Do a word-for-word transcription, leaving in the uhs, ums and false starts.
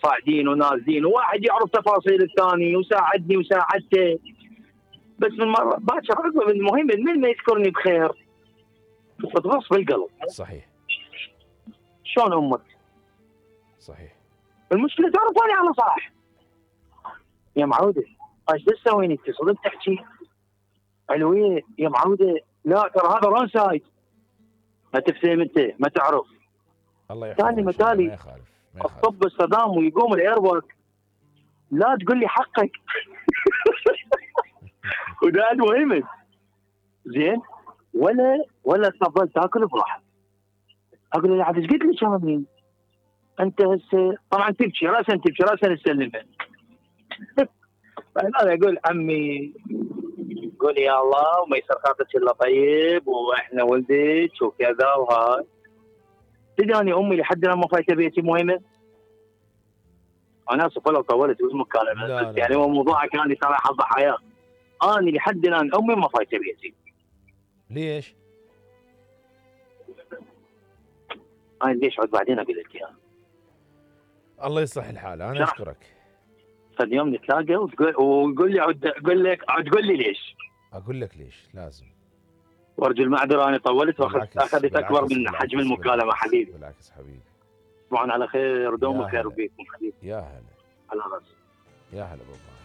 صاعدين ونازلين، وواحد يعرف تفاصيل الثاني وساعدني وساعدته. بس من مره باكر عقب المهم من ما يذكرني بخير تغص بالقلب. صحيح. شلون امك؟ صحيح. المشكله تعرفوني على صح يا معوده، ايش تسوين انت؟ صدق تحكي علويه يا معوده؟ لا ترى هذا رون سايد. ما تفهم انت، ما تعرف. الله يحفظك. ثاني مثالي ما يخالف ما يخالف. الطب الصدام ويقوم الايربورت، لا تقول لي حقك. وده المهم زين. ولا ولا تفضل تاكل براحتك. اقول له عاد ايش قلت لي كمان؟ انت هسه طبعا تبكي راسا تبكي راسا نسلمها. انا اقول عمي قول يا الله وما يصير خاطرك الا طيب، واحنا ولدك وكذا وهاي. تدري امي لحد الان ما فايته بيتي مهمه. انا اسف لو طولت بالمكالمه، بس يعني هو موضوعك كان ترى حظ حياه. انا لحد الان امي ما فايته بيتي. ليش؟ انا ليش عد بعدين اقول لك اياها. الله يصلح الحال. انا اشكرك. فد يوم نتلاقى وتقول ويقول لي عد اقول لك عد تقول لي ليش؟ اقول لك ليش لازم. وارجو المعذره انا طولت واخذت اخذت اكبر من حجم المكالمه حبيبي. بالعكس حبيبي. طبعا على خير، دوم الخير بيكم حبيبي. يا هلا. على راسي. يا هلا بابا.